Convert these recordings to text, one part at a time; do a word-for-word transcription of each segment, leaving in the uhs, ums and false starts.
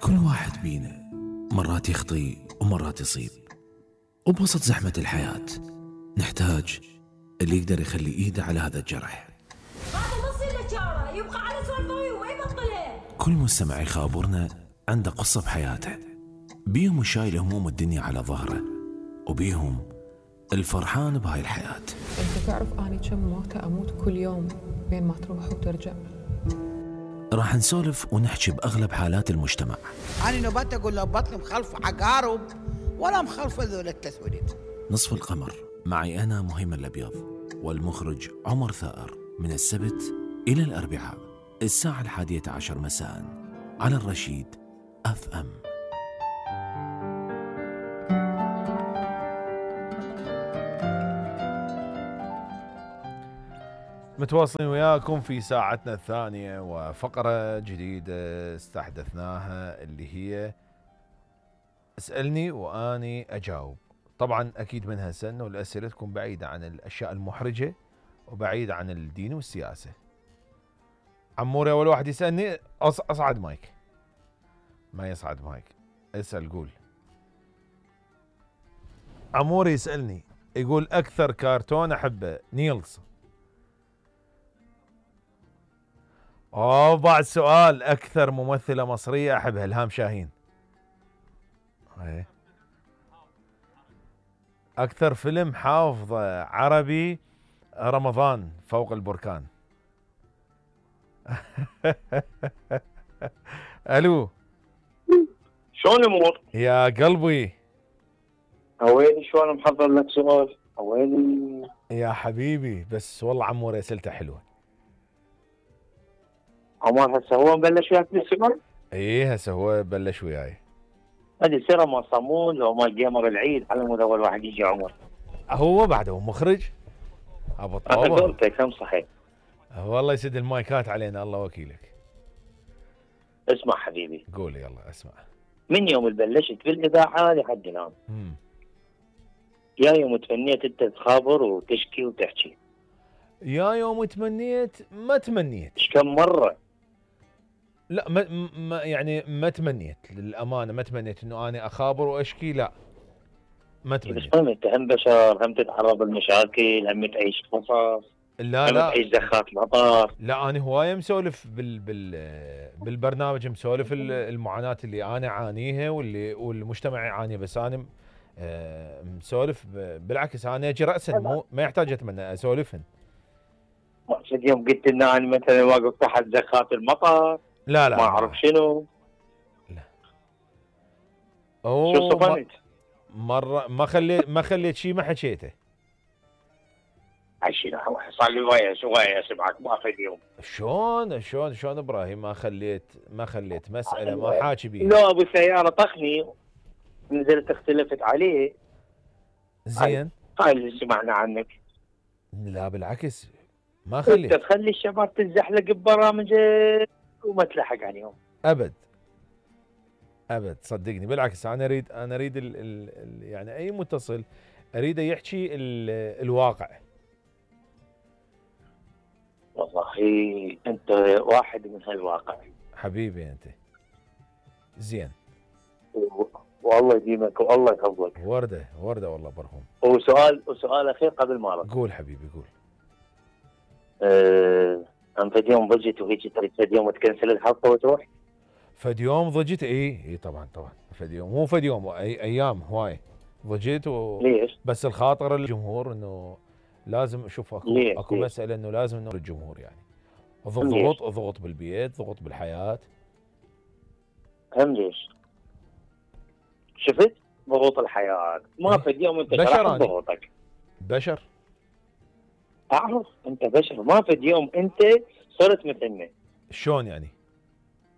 كل واحد بينا مرات يخطي ومرات يصيب، وبوسط زحمة الحياة نحتاج اللي يقدر يخلي ايده على هذا الجرح. هذا نص الاشاره يبقى على سوالفه وما يبطلها. كل مستمع يخابرنا عنده قصة بحياته، بيهم شايل هموم الدنيا على ظهره، وبيهم الفرحان بهاي الحياة. انت تعرف اني كم موتة اموت كل يوم بين ما تروح وترجع. راح نسولف ونحكي بأغلب حالات المجتمع. أنا نبات أقول له بطني مخلفة عقارب ولا مخلفة ذول التسوليف. نصف القمر معي أنا مهيمن الأبيض والمخرج عمر ثائر، من السبت إلى الأربعاء الساعة الحادية عشر مساء على الرشيد أف أم. متواصلين وياكم في ساعتنا الثانية وفقرة جديدة استحدثناها اللي هي اسألني وأني أجاوب. طبعا أكيد منها سنة والأسئلة تكون بعيدة عن الأشياء المحرجة وبعيدة عن الدين والسياسة. عموري أول واحد يسألني. أصعد مايك. ما يصعد مايك. اسأل قول. عموري يسألني يقول أكثر كرتون أحبه نيلز. أوه بعد سؤال. أكثر ممثلة مصرية أحبها إلهام شاهين. أيه. أكثر فيلم حافظه عربي رمضان فوق البركان. ألو شلون الأمور؟ يا قلبي هويني شلون محضر لك سؤال؟ هويني يا حبيبي. بس والله عمور أسئلته حلوة. عمر هسه هو مبلش وياك بالسؤال؟ ايه هسه هو بلش وياي. هذه سيره ما صمون لو ما جيمر العيد على مود اول واحد يجي عمر. هو بعد هو مخرج ابو الطاوله. انا قلت كم صحيح. والله يسد المايكات علينا الله وكيلك. اسمع حبيبي. قول يلا اسمع. من يوم بلشت بالاذاعه لحد الان. امم يا يوم تمنيت انت تخابر وتشكي وتحكي. يا يوم تمنيت ما تمنيت. ايش كم مره؟ لا ما, ما يعني ما تمنيت للامانه. ما تمنيت انه انا اخابر واشكي. لا ما تمنيت. بس انت هم بشر هم تتعرض للمشاكل هم تعيش قصص. لا هم لا تعيش زخات مطار. لا انا هوايه مسولف بال بال بالبرنامج مسولف المعاناه اللي انا اعانيها واللي والمجتمع يعانيها. بس انا مسولف بالعكس انا اجي راسا مو ما يحتاج اتمنى اسولفهن. مقصد يوم قلت لنا انا مثلا واقف تحت زخات المطر. لا لا ما اعرف شنو. لا شو صفنت؟ مره ما خليت ما خليت شيء ما حكيته. عشان صار لي ويا شويه اسمعك ما في اليوم. شلون شلون شلون ابراهيم ما خليت ما خليت مساله ما حاكي بيها. لا ابو سياره طخني نزلت اختلفت عليه. زين هاي اللي سمعنا عنك. لا بالعكس ما خليت. انت تخلي الشباب تزحلق ببرامجك وما تلحق عليهم ابد ابد صدقني. بالعكس انا اريد انا اريد ال ال ال يعني اي متصل اريده يحكي ال الواقع. والله انت واحد من هالواقع حبيبي انت. زين والله يديمك والله يحفظك. ورده ورده والله برهم. وسؤال وسؤال اخير قبل ما ارد. قول حبيبي قول. أه أم فد يوم ضجت وهيك تريد فد يوم تكنسل الحلقة وتروح؟ فد يوم ضجت اي اي طبعا طبعا فد يوم مو فد يوم اي ايام هواي ضجت و... ليش؟ بس الخاطر الجمهور انه لازم اشوف اكو ليش؟ اكو ليش؟ مسألة انه لازم انه الجمهور يعني ضغط ضغط بالبيت ضغط بالحياة. هم ليش؟ شفت؟ ضغوط الحياة ما فد يوم انت بشر ضغوطك. بشر اعرف انت بشر ما فد يوم انت صرت مثلنا. شلون يعني؟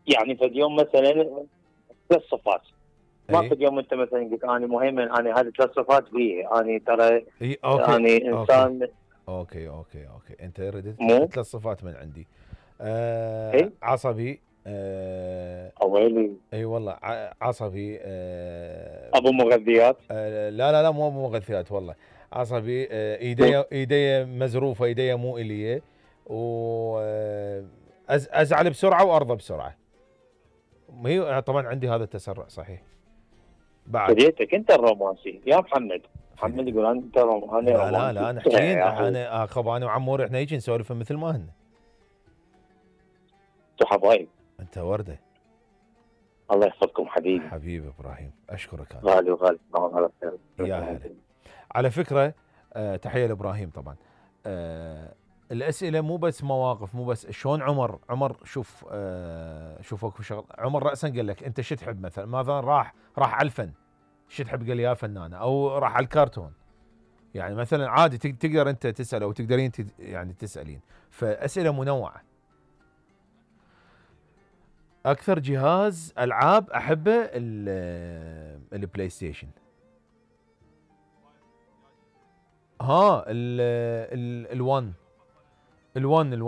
يعني فد يوم مثلا ثلاث صفات ما أي. فد يوم انت مثلا قلت انا مهيمن انا هذه ثلاث صفات بي انا ترى اي اوكي اني انسان اوكي اوكي اوكي انت ردت مو ثلاث صفات من عندي. آه إيه؟ عصبي. آه اويلي اي والله عصبي. آه ابو مغذيات. آه لا لا لا مو ابو مغذيات والله عصبي. آه ايدي ايدي مزروفه ايدي مو اليه وازعل بسرعه وارضى بسرعه هي طبعا عندي هذا التسرع صحيح. بعد بديتك انت الرومانسي يا محمد. محمد يقول انت رومانسي. لا لا لا انا حكين انا اخذ انا وعمور احنا هيك نسولف مثل ما هن. انتوا حبايب. انت ورده. الله يحفظكم حبيبي. حبيبي ابراهيم اشكرك. انا غالي وغالي. يا هلا. على فكره أه تحيه لابراهيم طبعا. أه الاسئله مو بس مواقف، مو بس شلون عمر عمر شوف أه شوف اكو شغل. عمر راسا قال لك انت شو تحب مثلا، مثلا راح راح على الفن شو تحب، قال لي يا فنانه، او راح على الكرتون. يعني مثلا عادي تقدر انت تسال او تقدرين يعني تسالين، فاسئله منوعه. اكثر جهاز العاب احبه البلاي ستيشن. ها ال ال ال1 ال1 ال1